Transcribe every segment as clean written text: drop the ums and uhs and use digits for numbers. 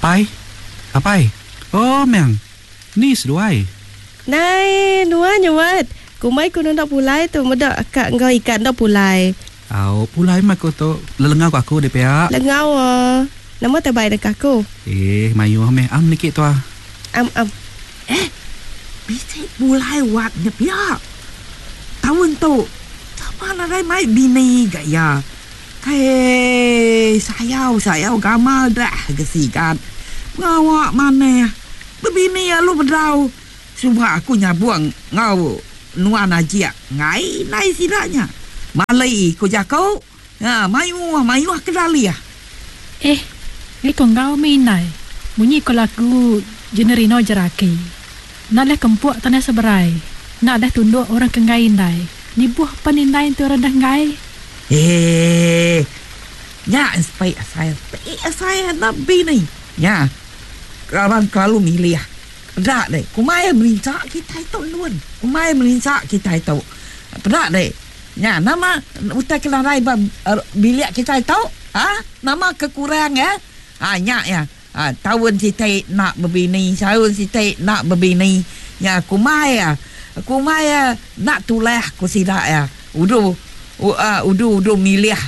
Apai? Apai? Oh meng. Ni seduai. Nai, nuan nyuat. Kumbai ku nunda pulai tu meda ka enggau ikan enda pulai. Au, pulai meh aku tu. Lelengau ku aku deh pia. Lengau ah. Nama tai bai nengka aku? Eh, mayuh meh am niki tuah. Am am. Eh, bisi pulai wat nya pia. Taun tu sama nadai mai bini ga iya. Hei, sayau sayau gamal dah ga sigat. Pengawa manah. Bebini alu bedau. Suba aku nyabung enggau nuan ajik enggai indai sida nya. Mali ku jaku, ha mayuh mayuh ke dalih. Eh, ngai ko enggau meh indai. Munyi ko lagu Jenerino Jeraki. Enda leh kempuk tanah seberai. Enda leh tunduk orang ke enggai indai. Nibuh pan indai enti orang dah enggai. Eh, nya ensepik asai, ensepik asai enda bini. Nya, laban kelalu milih. Peda deh, kumbai merinsa kitai tu endun. Kumbai merinsa kitai tu. Peda deh, nya nama utai ke nadai ba bilik kitai tu? Ha? Nama ke kurang ya? Ha nya ya. Ha taun siti enda bebini, taun siti enda bebini. Nya kumbai ya. Kumbai ya enda tulah ku sida ya. Udu udu udu milih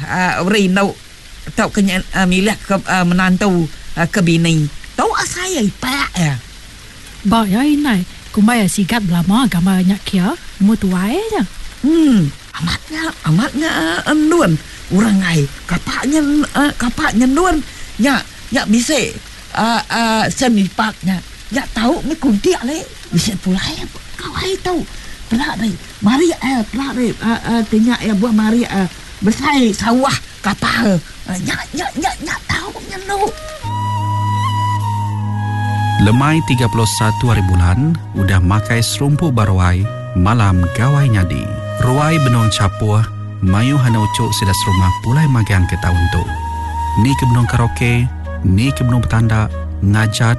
rindu tauka milih ke menantu ke bini. Tu asai iya ipak iya. Ba iya indai, kumbai iya sigat belama gambar nya kia, nemu tuai nya. Em, amat nya, amat nya endun orang ai. Kapak nya kapak nya endun nya nya bisi aaa sen ipak nya. Nya tau meh kuntik alai bisi pulai kawai tu. Peda deh marik iya peda deh aaa ti nya iya buah marik iya besai sawah. Kapal nya nya nya nya tau nyendu. Lemai 31 hari bulan udah makai serumpu ba ruai malam gawai nyadi. Ruai benung chapuh mayuh anak uchu sida serumah pulai magang ke taun tu. Ni ke benung karaoke, ni ke benung betanda, ngajat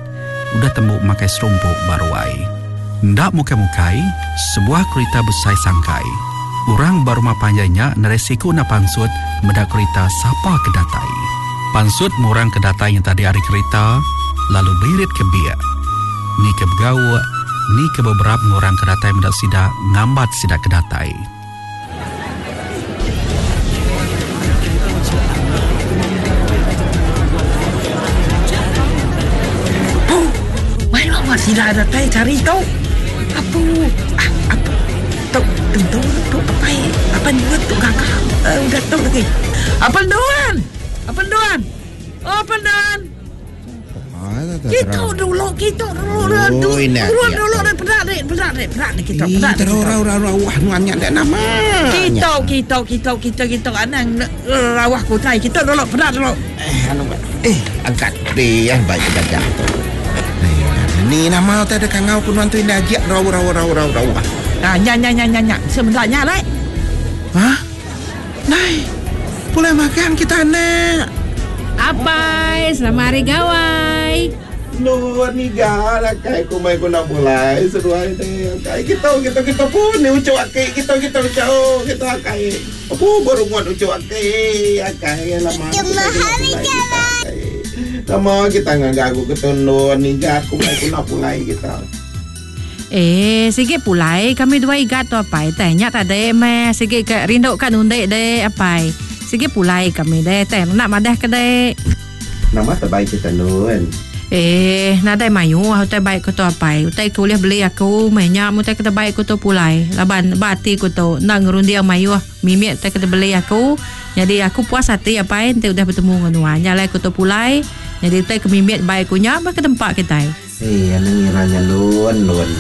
udah tembu makai serumpu ba ruai. Enda mukai-mukai, sebuah kerita besai sangkai. Orang ba rumah panjai nya nadai siku enda pansut meda kerita sapa ke datai. Pansut meh orang ke datai nya tadi ari kerita lalu beirit ke biak. Ni ke begauk, ni ke beberap enggau orang ke datai meda sida ngambat sida ke datai. Apu, mayuh amat sida datai sehari tu. Apu, ah, apu. Tu tentu tu apai apai nuan tu gaga uh, udah tu lagi. Apai nuan. Apai nuan. Oh, apai nuan. Kita dulu, kita dulu dah. Turun dulu dah peda dek, peda dek, peda dek kita, peda dek. Rawah rawah nuan nya dek nama. Kita, kita, kita, kita, kita anang rawah kutai. Kita dulu, peda dulu. Eh, anu eh, angkat dia baik gajah tu. Ni nama utai dek kangau ku nuan tu indah ajik rawah rawah rawah rawah rawah. Ah, nya nya nya nya nya. Sebentar nya lek. Hah? Nai, pulai magang kita anak. Apai, selamat hari gawai. Nuan niga akai ku mai ku enda pulai seduai deh akai kita kita kita pun ni uchu aki kita kita uchu kita akai apu berungut uchu aki akai lama ku mai ku enda pulai kita akai nama kita ngaga aku ke nuan niga ku mai ku enda pulai kita. Eh, sigi pulai kami dua igat tu apai. Teh nya tadi meh sigi ke rindu ka nundi dek apai. Sigi pulai kami deh teh enda madah ke dek. Nama terbaik kita nun? Eh, nadai mayuh utai baik ku tu apai. Utai ke ulih beli aku meh nya meh utai ke terbaik ku tu pulai. Laban ba ati ku tu enda ngerunding mayuh mimit utai ke dibeli aku. Nyadi aku puas ati apai enti udah betemu enggau nuan. Nya alai ku tu pulai. Nyadi utai ke mimit baik ku nya meh ke tempa kitai. Hei anang ngira nya lun lun.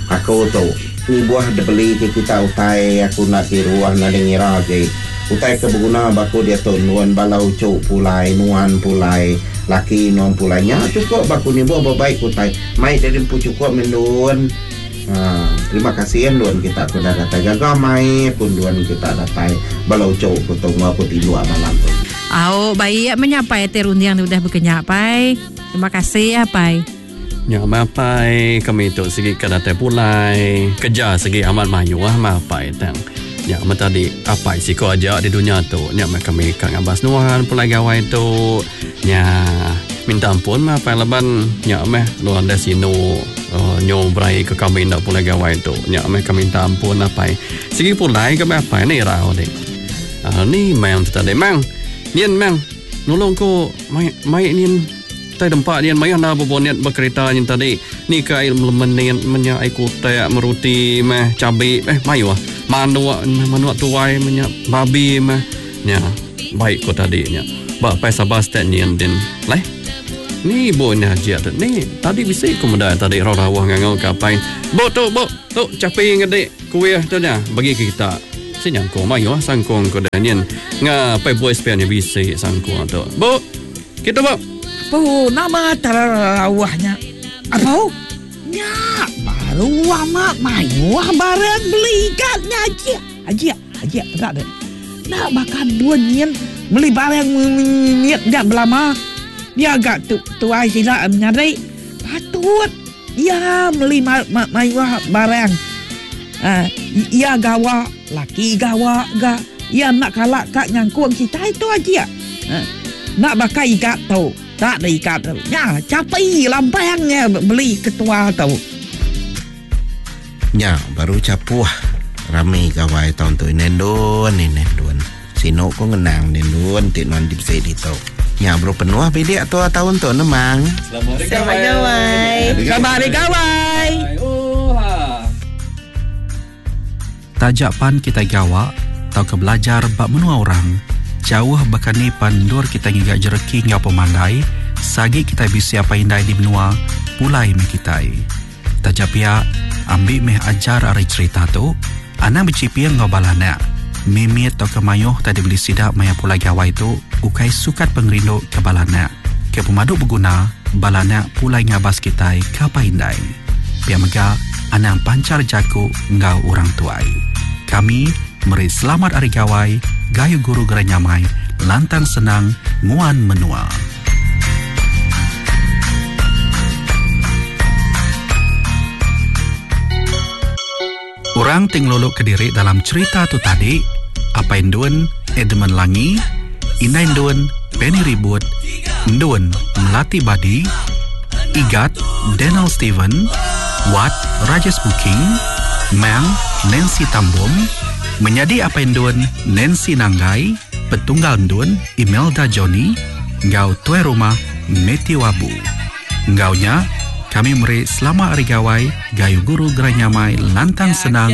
Aku tu nibuh dibeli ke kita utai aku enda kiruh nadai ngira agi. Utai ke beguna ba aku diatu endun bala uchu pulai nuan pulai laki nuan pulai nya chukup ba aku nibuh bebaik ke utai mai diri empu chukup meh endun. Haa terima kasih endun kita ke udah datai gaga mai aku endun kita datai bala uchu ku tu enggau aku tinduk malam tu. Au baik meh nya pai ti runding ti udah bekenya pai. Terima kasih apai. Nya meh apai kami tu sigi ka datai pulai kerja sigi amat mayuh meh apai tang. Nya meh tadi apai siko aja di dunya tu nya meh kami ka ngabas nuan pulai gawai tu. Nya. Minta ampun meh apai laban nya meh nuan deh sinu nyu berai ke kami enda pulai gawai tu. Nya meh ka minta ampun apai. Sigi pulai ka meh apai ni irau dik. Ni mang tu tadi mang. Nyin mang nulung ku mai mai nyin tai dempa nyin mayuh enda bebonit ba kerita nyin tadi. Ni ka ai melemenit menya ai kutak meruti meh chabi eh mayuh manuk manuk tuai menya babi meh. Nya, baik ko tadi nya. Ba apai sabar step nyin din. Leh. Ni ibu nya aja tu. Ni tadi bisi ko meda tadi rau rawah ngangau ke apai. Bu tu bu, tu chapi ngedi kuih tu nya bagi ke kita. Si nyangkung mayuh sangkung ko dah nyin. Nga apai boy spare nya bisi sangkung tu. Bu, kita bu. Apu nama terawah nya. Apu nya baru amat mayuh barang beli ikan nya aja. Aja. Aja peda deh. Enda baka dun nyin meli barang mit nya belama. Dia ga tu tuai sida menyadi patut iya meli mayuh barang. Aaa iya gawa laki gawa ga iya enda kala ka nyangkung kitai tu aja. Aaa enda baka igat tu. Tak deh igat tu. Nya chapi lampang iya beli ketua tu. Nya baru chapuh rami gawai taun tu ine endun ine endun. Sinu ku ngenang ine endun ti nuan bisi ditu. Nya baru penuh bilik tua taun tu nemang. Selamat gawai. Selamat hari gawai. Taja pan kitai gawa tauka belajar ba menua orang, jauh baka ni pan endur kitai ngiga jereki enggau pemandai, seagi kitai bisi apai indai di menua, pulai meh kitai. Taja pia, ambi meh ajar ari cherita tu, anang bechiping enggau bala anak. Mimit tauka mayuh utai dibeli sida maya pulai gawai tu ukai sukat pengerindu ke bala anak. Ke pemadu beguna, bala anak pulai ngabas kitai ke apai indai. Pia mega, anang panchar jaku enggau orang tuai. Kami meri selamat Hari Gawai, gayu guru gerai nyamai, lantang senang nguan menua. Orang ti ngeluluka diri dalam cherita tu tadi, Apai Endun, Edmund Langi, Indai Endun, Penny Ribut, Endun, Melati Badi, Igat, Daniel Steven, Wat, Rajes Buking, Mang, Nancy Tambom, Menyadi Apai Endun, Nancy Nanggai, Petunggal Endun, Imelda Johnny enggau Tuai Rumah Mathew Abu. Enggau nya, kami meri Selamat Hari Gawai, Gayu Guru Gerai Nyamai Lantang Senang.